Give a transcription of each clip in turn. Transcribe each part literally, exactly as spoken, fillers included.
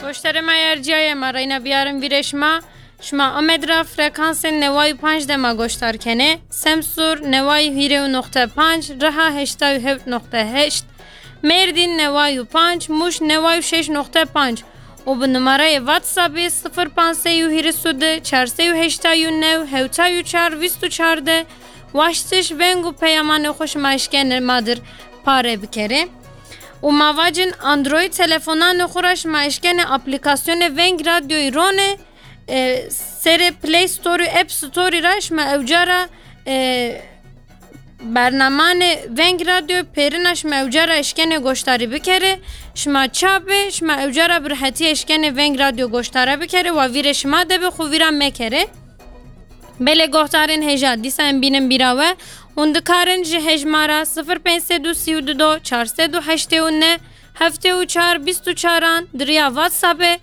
Goştarê me yerciyaye, me reyna biyarin vîrê şima. Şima Amed ra frekansên neway û panc de me goştar kenê. Semsûr neway û hîrê û noqte panc, Riha heştay û heft noqte heşt, Mêrdîn neway û panc, Mûş neway û şeş noqte panc. Û bi numarayê WhatsAppê sifir panc sey û hîris û du, çar sey û heştay û neh, hewtay û çar, vîst û çar de waştiş, veng û peyamanê xwe şima eşkenê ma dir pare bikerê. Û ma vacin Android telefonanê xwe ra şima eşkenê aplîkasyonê Veng Radyoyî ronê, e, serê Play Store û App Store ra şima ewca ra, e, bernamanê Veng Radyo pêrina şima ewca ra eşkenê goştarî bikerê. Şima çap bê, şima ewca ra bi rehetî eşkenê Veng Radyo goştare bikerê, wa vîrê şima de be, xwe vîra mekerê. Belê guhdarên hêja, dîsa em bînin bîra we. Hûn dikarin ji hejmara sifir pênc sed û sî û du, çar sed û heştê û neh, heftê û çar, bîst û çaran di riya WhatsAppê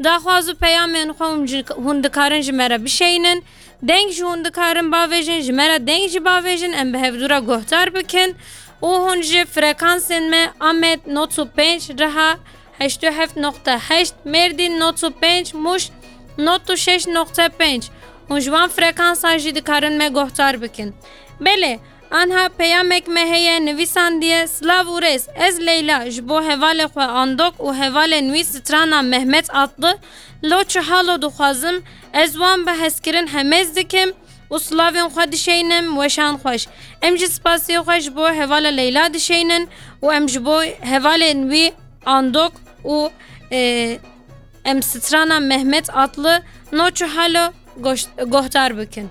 daxwaz û peyamên xwe hûn ji, hûn dikarin ji me re bişeynin. Deng ji hûn dikarin bavêjin, ji me re deng jî bavêjin, em bi hevdû re guhdar bikin. Û hûn ji frekansên me Amed nod û pênc, Riha heşt û heft noqte heşt, Mêrdîn nod û pênc, Mûş nod û şeş noqte pênc. Hûn ji wan frekansan jî dikarin me guhdar bikin. Belê, anha peyamek me heye, nivîsandiye: Silav û rêz, ez Leyla, ji bo hevalê xwe Andok û hevalên wî strana Mehmet Atlı, Lo çi halo dixwazim, ez wan bi hezkirin hemêz dikim û silavên xwe dişeynim, weşan xweş. Em jî spasiyê xwe ji bo hevala Leyla dişeynin û em ji bo hevalên wî Andok û, e, em strana Mehmet Atlı, No çi halo, goş-, guhdar bikin.